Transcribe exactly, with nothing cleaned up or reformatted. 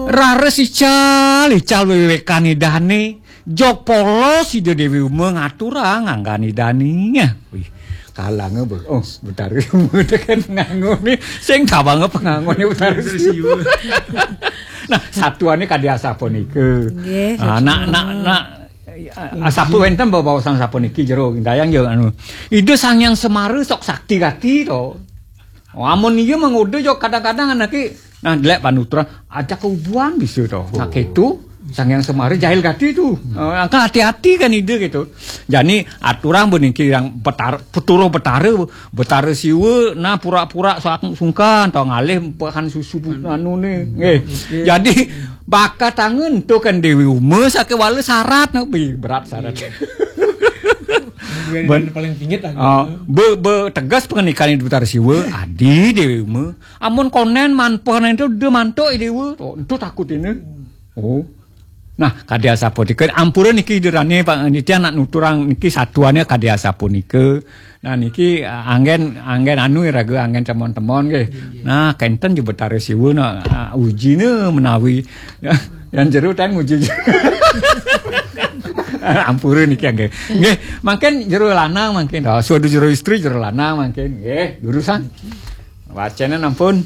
Raris ical, ical wewekan Idane, jog polos Ida Dewi Uma ngaturang anggan Idane. Wih, kalanga be-, oh, Betara Uma tekan ngangone, sing tawanga pangangone Betara Siwa. Nah, satuane kadi asapunika. Nggih, Ah, nak, nak, nak, asapu wenten bebaosan sapuniki jero dayang ya anu. Ida Sang Hyang Semara sok sakti gati to. Oh, amun iya mengode yo kadang-kadang anake nah delek panuturan aja keubuan bisa to. Nah, gitu. Sang Hyang Semara jahil gati tu. Eh, angka hati-hati kan ide gitu. Jani aturang beniki yang betar, peturuh betara, betara siwa nah pura-pura sak sungkan to ngalih bahan susu anu ni. Nggih. Jadi bakat tangan tu kan Dewi Uma sake wala syarat no. Wih, berat syarat. Iya. Kemudian Ben- paling pingit lah. Ah, be, be tegas pengendikan Ibu Betara Siwa, adi Dewi Uma. Amun konen manpoh nen itu dia mantuk Dewa. Oh, itu takut ini. Oh. Nah, kadi asapunika ampura niki derane Pak Nitya nak nuturang niki satuane kadi asapunika. Nah, niki ah, anggen anggen anu raga anggen temon-temon nggih. Nah, kenten je Betara Siwa nah ah, ujine menawi yang jero tang uji. Ampura niki nggih. Nggih, mangkin jero lanang mangkin. Oh, suatu jero istri jero lanang mangkin. Nggih, durusan. Wacana ampun.